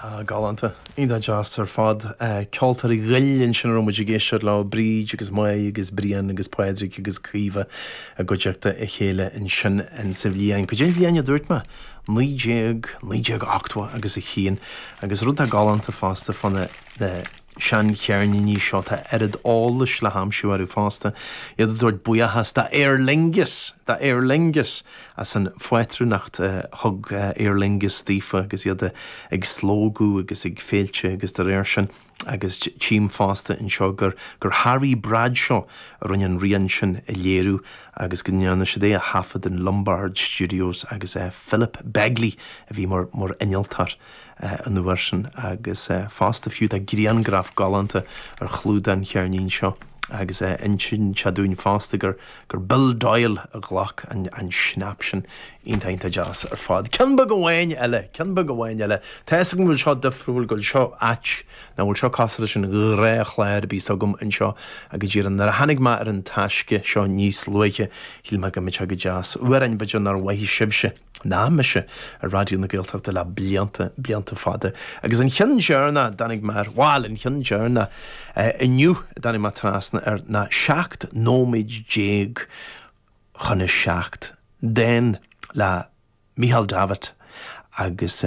Ah, galánta. Iontach deas ar fad. Ceoltóirí Ghoill ansin a raibh muid ag éisteacht leo, Bríd agus Moya agus Brian agus Pádraig agus Caoimhe i gcuideachta a chéile ansin insa bhliain. Cad é an bhliain a dúirt mé? 19, 1980 agus a haon. Agus rud atá galánta fosta fá na, na seancheirníní seo, tá oiread eolais le haimsiú orthu fosta. Iad ag tabhairt buíochas do Aer Lingus, do Aer Lingus as an phátrúnacht a thug Aer Lingus daofa agus iad ag slógadh agus ag féilte agus dá réir sin. Agus tchím fosta anseo gur gur Harry Bradshaw a rinne an rian sin a léiriú agus go ndearna siad é a thaifead in Lombard Studios agus Philip Begley a bhí mar mar innealtóir an uair sin agus fosta fiú tá griangraf galánta ar chlúdach an cheirnín seo agus insíonn sé dúinn fosta gur gur Bill Doyle a ghlac an an snap sin. Iontach iontach deas ar fad. Ceann beag amháin eile, ceann beag amháin eile. Tá fhios agam go bhfuil seo difriúil, go bhfuil seo ait, nach bhfuil seo cosúil leis an ghnáthchlár a bhíos agam anseo ach go díreach nuair a tháinig mé ar an taisce seo níos luaithe shíl mé go mbeadh sé go deas. Amhrán b'fhéidir nár mhothaigh sibhse. ná mise ar Raidió na Gaeltachta le blianta, blianta fada. Agus an cheann deireanach a dtáinig mé air, bhail, an cheann deireanach inniu a dtáinig mé trasna air ná 17 nóiméad chun a 7, dán le Micheál Davitt agus.